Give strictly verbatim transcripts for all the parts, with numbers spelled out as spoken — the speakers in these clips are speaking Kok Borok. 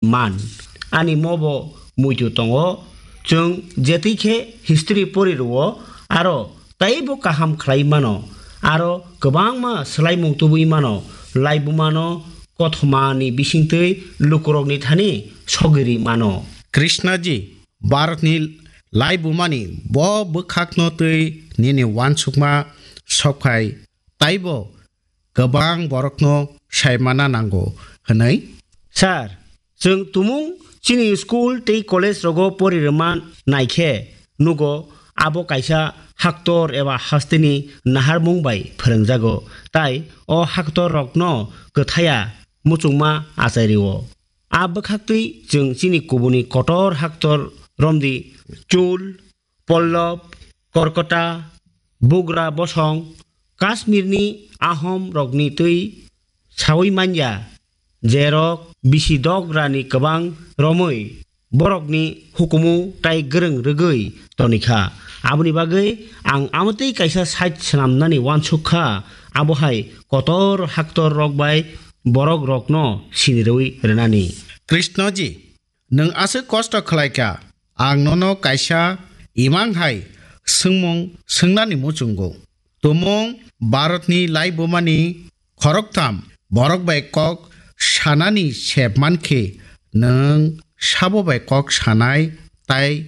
man. Ani mo bo muitu tongo. Chwng jetwi khe history pori rwo, aro teibo kaham khlai mano. Aro kwbangma swlaimung tubui mano. Laibumano kothomani bisingtwi lukurokni thani sogiri mano. Krishnaji, Bharatni laibumani bo bwkhakno twi nini uansukma sokphai, taibo kwbang borokno saimana nango hwnwi? Sir, chwng tumung chini school tei college rogo pori rwma naikhe nugo abo kaisa haktor eba hasteni naharmung bai phwrwngjago, tai o haktor rokno kwthaya muchungma achai rwo. A bwkhaktwi chwng chini kubuni kotor haktor romdi chul, Pollab, Korkota, Bugra bosong, Kashmirni Ahom rokni twi saui manya, jerok bisi dograni kwbang romwi borokni hukumu tai gwrwng rwgwi tonikha. Aboni bagwi ang amotwi kaisa site swnamnani uansuk kha, abo hai kotor haktor rok bai borok rokno sinirwi rwnani. Krishnaji, nwng aswk kosto khlai kha, ang nono kaisa imang hai swngmung swngnani muchungo. Tumung Bharatni laibumani khoroktham borok bai kok sanani sep mankhe, nwng sabo bai kok sanai tai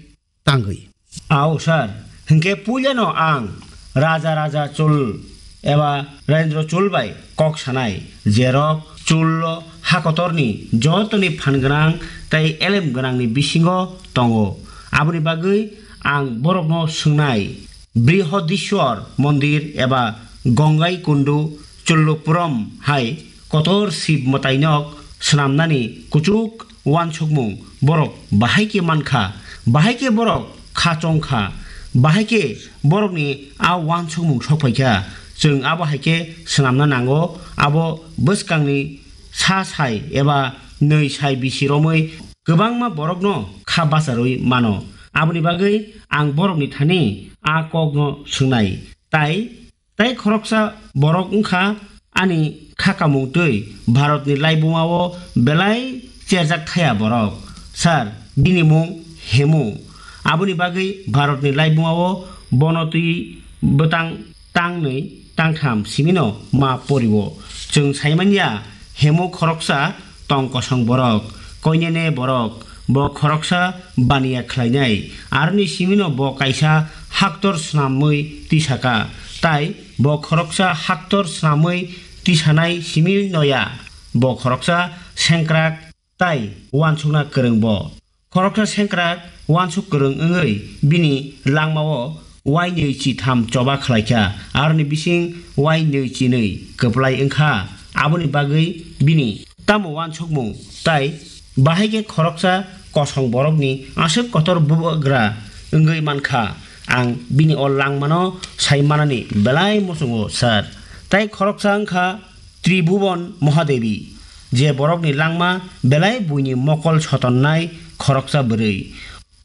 tangwi? Ao sir, hinkhe puilano ang Raja Raja Chul eba Rendra Chul bai kok sanai, jerok Chullo hakotorni jotoni phan gwnang tei elem gwnangni bisingo tongo. Aboni bagwi ang borokno swngnai, Brihodishwar Mondir eba Gongai Kundu Chullupuram hai kotor Shiv mwtainok swnamnani kuchuk uansukmung borok bahai khe mankha, bahai khe borok kha chongkha, bahai khe borokni a uansukmung sokphaikha. Chwng abo hai khe swnamna nango, abo bwskangni sa sai eba nwi sai bisi romwi kwbangma borokno kha bacharwi mano. Aboni bagwi ang borokni thani a kokno swngnai, tai Tai khoroksa borok wngkha ani kha kamung twi Bharatni laibumao belai cherjak thaya borok. Sir, bini mung Hemu. Aboni bagwi Bharatni laibumao bono twi bwtang tangnwi tangtham simino ma porio. Chwng saimanya Hemu khoroksa tong kosong borok, koinene borok, bo khoroksa baniya khlainai, aroni simino bo kaisa haktor swnamwi tisaka, tai bo khoroksa haktor swnamwi tisanai simi noya, bo khoroksa sengkrak tai uansukna kwrwng bo. Khoroksa sengkrak uansuk kwrwng wngwi bini langmao wainwi chitham choba khlaikha, aroni bising wainwi chinwi kwplai wngkha. Aboni bagwi bini tamo uansukmung tai bahai khe khoroksa kosong borokni aswk kotor bubagra wngwi mankha. Ang bini o langmano sai manani belai muchungo, sir. Tai khoroksa wngkha Tribhuban Mahadevi, je borokni langma belai buini mokol sotonnai khoroksa bwrwi.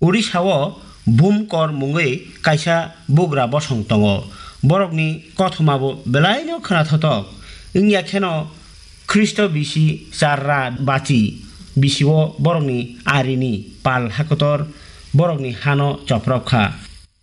Odisha-o Bhumkor mungwi kaisa bugra bosong tongo. Borokni kothoma bo belaino khwnathothok. Wngya kheno Khristo bisi charra bachi bisio borokni arini pal hakotor borokni hano choprok kha.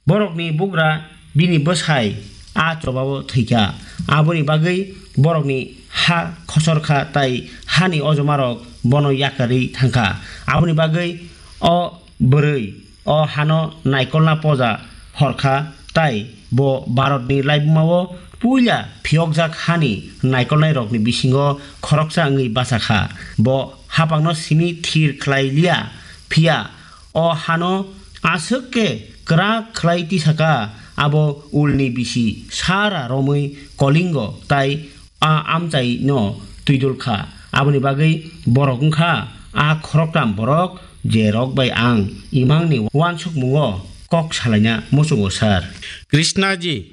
Borokni bugra bini bwsai a chobao thwikha. Aboni bagwi borokni ha khosor kha tai hani ojomarok bono yakarwi thangkha. Aboni bagwi o bwrwi o hano naikolna poja horkha tai bo Bharatni laibumao puila phiyokjak hani naikolnairokni bisingo khoroksa wngwi bachakha. Bo hapangno simi thir khlai liya, phiya o hano aswk khe kwrak khlai tisaka, abo ulni bisi sara romwi Kolingo tai a amchaino twidul kha. Aboni bagwi borok wngkha a khoroktham borok, je rok bai ang imangni uansukmungo kok salaina muchungo, sir. Krishnaji,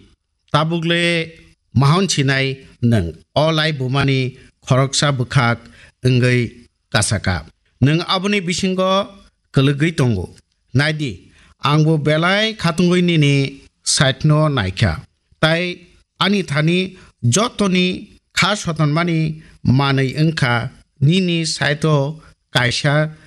tabukle mahon sinai nwng o laibumani khoroksa bwkhak wngwi kasaka. Nwng aboni bisingo kwlwgwi tongo. Naidi, angbo belai khatungwi nini side-no naikha. Tai ani thani jotoni kha sotonmani manwi wngkha nini side-o kaisa